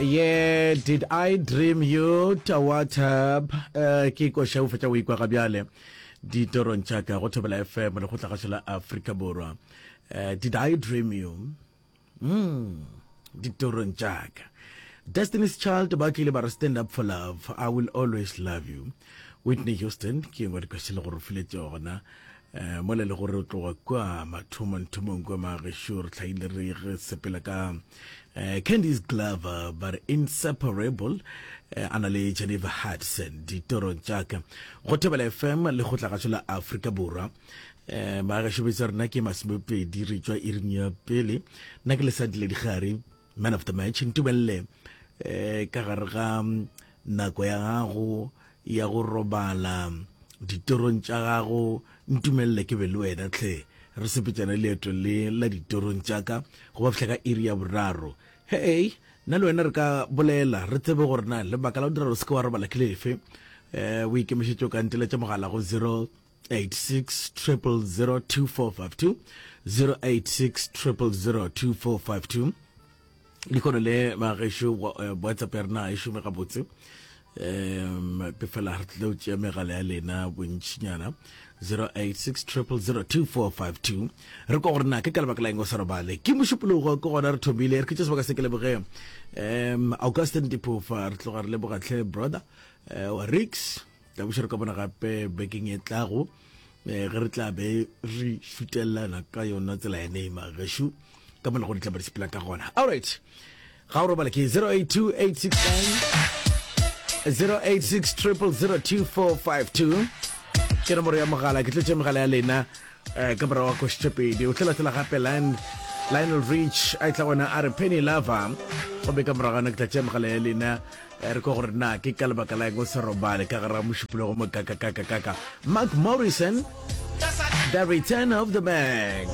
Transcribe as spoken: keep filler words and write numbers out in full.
Yeah, did I dream you to WhatsApp? Uh, ke koša o fetša o ikwa ga bjale ditorong tša ka go Thobela FM le go tlagašo la Afrika Borwa. Uh, did I dream you? Mm, ditorong tša ka. Destiny's Child ba tlile ba re stand up for love. I will always love you. Whitney Houston ke engwe dikoša le gore o file tšona. Uh, mola le gore o tloga kua mathomong-thomong kua magešo re hlaile re re sepela ka uh, Candice Glover ba re inseparable uh, a na le Jennifer Hudson ditorong tša ka go Thobela FM le go tlagašo la Afrika Borwa um magešo betsa rena ke masomepedi re tšwa iring ya pele nna ke lesadi le digare man of the match ntumelele um ka gare ga nako ya gago ya go robala ditorong tša gago ntumelele ke be le wena tlhe re sepetšana leeto le la ditorong tša ka go ba fihla ka iri ya boraro hei nna le wena re ka bolela re tsebe gore na lebaka la go dira gore se ke wa robala ke lefe um o ikemišetše o ka nteletša mogala go zero eight six triple zero two four five two zero eight six triple zero two four five two dikgono le magešo whatsapp ya rena e šome gabotse um ke fela re tlile go tšea megala ya lena bontšinyana zero eight six triple zero two four five two re kwa gore na ke ka lebaka la eng o sa robale ke mošupologo ke gona re thomile re khutše sebaka se ke leboge um augustin diphofa re tloga re leboga tlhe brother uh, wa rix tla buša re ka bona gape bekeng e tlago eh, ge re tla be re šutelelana ka yona tsela ya neima gešo ka mola go di tla ba di sepela ka gona alright ga o robale ke zero eight two eight six nine zero eight six triple zero two four five two ke nomoro ya mogala ke tletše megala ya lena eh, ka morago ga košitše pedi o tla latela gape line lionel rich a tla gona a re penny lover gomme ka morago ke tla tšea megala ya lena eh, re kwa gore na ke ka lebaka la eng o se robale ka gare ga mošupologo mo kakakakakaka mark morrison the return of the mac